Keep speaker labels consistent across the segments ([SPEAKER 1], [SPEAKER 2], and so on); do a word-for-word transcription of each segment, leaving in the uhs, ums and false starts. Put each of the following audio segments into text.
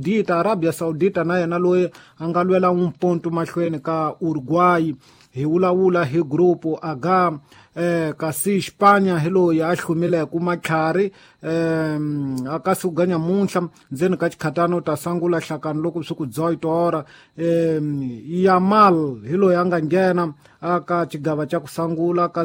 [SPEAKER 1] Saudita Arabia Saudita na yena loyi a nga lwela un ponto mahlweni ka Uruguay. Hi vulavula hi grupo H, eh, kasi Xipanya hi loyi a hlumileke matlhari eh, aka siku ga nyamuntlha ndzeni ka xikhatana u ta sangula hlakani loko swi ku dzoitora. eh, Yamal hi loyi a nga nghena aka xigava xa ku sangula ka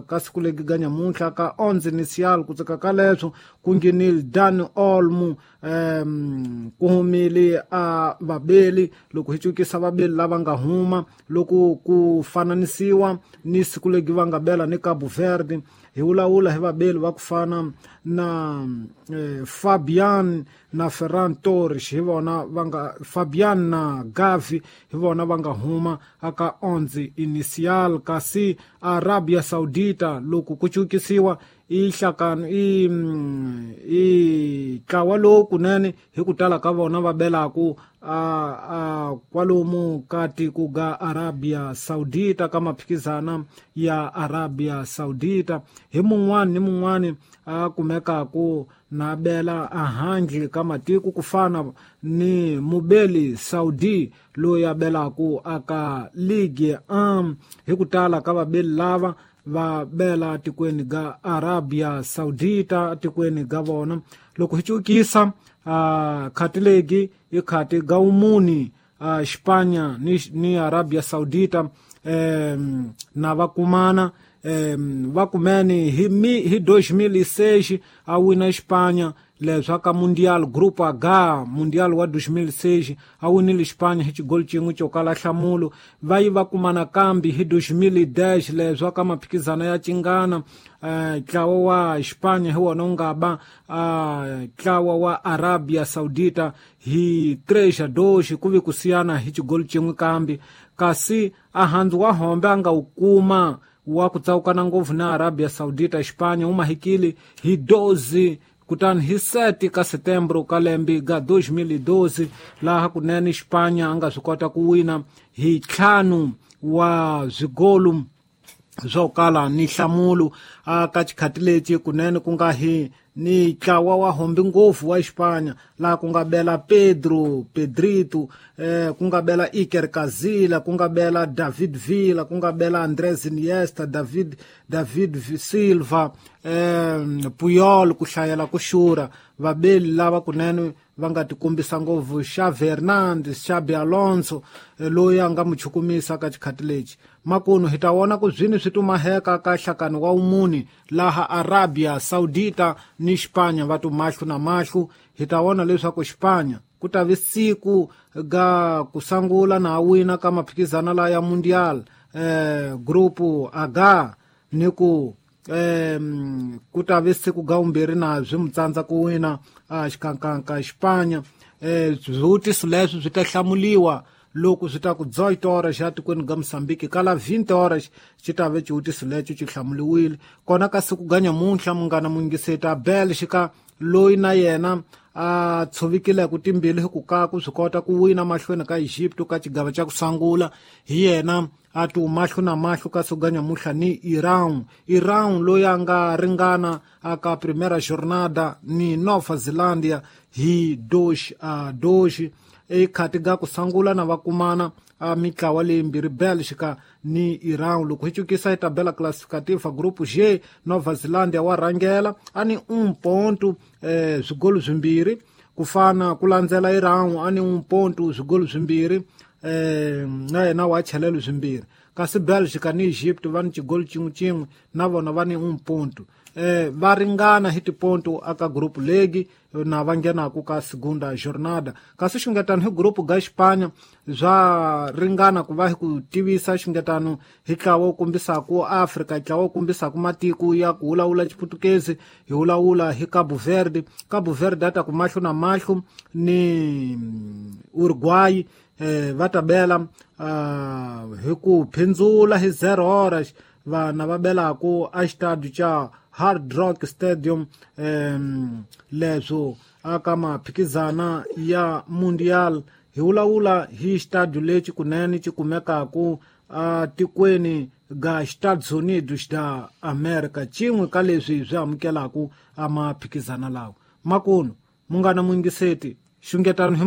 [SPEAKER 1] ka siku legi ga nyamuntlha ka onze inicial. Ku tsaka ka leswo ku nghenile Dani Olmo, um ku humile a vabeli. Loko hi cukisa vabeli lava nga huma loko ku fananisiwa ni siku legi va nga bela ni Cabo Verde, hi vulavula hi vabeli va ku fana na eh, Fabian na Ferran Torres, hi vona va nga Fabian na Gavi hi vona va nga huma aka onze inicial. Kasi Arabia Saudita loko ku cukisiwa i hlakano i i ntlawa lowu kunene hi ku tala ka vona va belaku a a kwalomu ka tiko ga Arabia Saudita ka maphikizana ya Arabia Saudita. Hi mun'wani ni mun'wani a kumekaku na bela ahandle ka matiko ku fana ni mubeli Saudi loyi a belaku aka Ligue un. Hi ku tala ka vabeli lava va bela tikweni ga Arabia Saudita tikweni ga vona. Loko hi cukisa uh, khati legi i khati ga umuni uh, Xipanya ni, ni Arabia Saudita um, na va kumana um, va kumene hi, mi, hi dois mil e seis a wina Xipanya leswi ka Mundial Grupo H, Mundial wa dois mil e seis a winile Xipanya hi xigolo xin'we xo kala nhlamulo. Va yi va kumana kambi hi dois mil e dez leswi ka maphikizana ya cingana ntlawa wa Xipanya hi wona wu nga ba ntlawa wa Arabia Saudita hi três a dois, ku vi ku siyana hi xigolo xin'we kambi. Kasi a handzu wa hombe a nga wu kuma wa ku tsawukana ngopfu na Arabia Saudita Xipanya wu mahikile hi doze kutani hi sete ka setembro ka lembe ga dois mil e doze, laha kunene Xipanya a nga swi kota ku wina hi ntlhanu wa swigolu swo kala ni nhlamulo. A ka xikhati lexi kunene ku nga hi ni ntlawa wa hombi ngopfu wa Xipanya laha ku nga bela Pedro Pedrito, eh, ku nga bela Iker Casillas, ku nga bela David Villa, ku nga bela Andrés Iniesta, David David Silva, eh, Puyol, ku hlayela ku xura vabeli lava kunene va nga tikombisa ngopfu, Xavi Hernandez, Xabi Alonso loyi a nga mu chukumisa ka xikhati lexi. Makunu hi ta vona ku zwini swi tumaheka ka hlakani wa umuni laha Arabia Saudita ni Xipanya va tu mahlo na mahlo. Hi ta vona leswaku Xipanya ku ta vi siku ga ku sangula na wina ka maphikizana la ya Mundial eh, Grupo H ni ku eh, ku ta vi siku ga vumbirhi na swi mu tsandza ku wina a xikankanka Xipanya. Eh, swivutiso leswi swi ta hlamuliwa loko swi ta ku dezoito horas xa tikweni ga Mozambique kala vinte horas xi ta ve xivutiso lexo xi hlamuliwile. Kona ka siku ga nyamuntlha munghana muyingiseti Bélgica loyi na yena a tshovikileke timbilu hi ku ka ku swi kota ku wina mahlweni ka Egypt ka xigava xa ku sangula, hi yena a tu mahlo na mahlo ka siku ga nyamuntlha ni Iran. Iran loyi a nga ringana aka primeira jornada ni Nova Zelândia hi dois a dois. Ekhati ga ku sangula na va kumana a mitlawa leyimbirhi Bélgica ni Iran. Loko hi cukisa hi tabela classificativa grupo G, Nova Zelândia wa rhangela a ni un ponto eh, swigolo swimbirhi, ku fana ku landzela Iran a ni un ponto swigolo swimbirhi eh, na yena wa chelelo swimbirhi. Kasi Bélgica ni Egypt va ni xigolo xin'we xin'we na vona va ni un ponto. Eh, va ringana hi tiponto aka grupo legi na va nghenaku ka segunda jornada. Kasi xungetano hi grupo ga Xipanya swa ringana ku va hi ku tivisa xungetano hi ntlawa wu kombisaku Afrika, ntlawa wu kombisaku matiko ya ku vulavula Xiputukezi. Hi vulavula hi Cabo Verde. Cabo Verde a ta ku mahlo na mahlo ni Uruguay, eh, va ta bela uh, hi ku phindzula hi zero horas vana va belaku a xitadi xa Hard Rock Stadium um, leswo aka maphikizana ya Mundial. Hi vulavula hi xitadi lexi kunene xi kumekaku a tikweni ga Estados Unidos da America, xin'we ka leswi swi amukelaku a maphikizana lawa. Makunu munghana muyingiseti xungetano hi